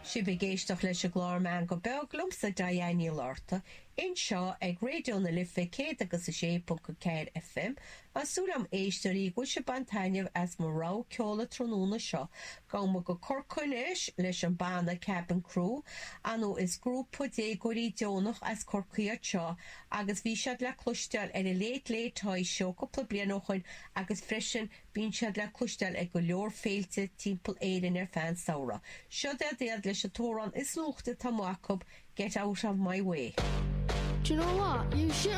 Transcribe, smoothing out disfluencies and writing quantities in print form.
Sibh ag éisteacht leis an gclár Meangadh Beag liomsa Diane Ní Fhlatharta, anseo ag Raidió na Life 106.4 FM. Tá súil agam éisteoirí go bhfuil sibh ag baint taitneamh as mo rogha ceoil an tráthnóna seo. Gabhfaidh muid go Corcaigh anois leis an banna Cabin Crew. Ar ndóigh is grúpa déagóirí deonach as Corcaigh iad seo agus bhí siad le cloisteáil ar an Late Late Toy Show cúpla bliain ó shoin agus freisin Bíonn siad le cloisteáil ag go leor féilte timpeall Éirinn ar feadh an samhradh. Siod iad iad leis an t-amhrán is nuachta atá amuigh acu, Get Out of My Way. Do you know what? You should.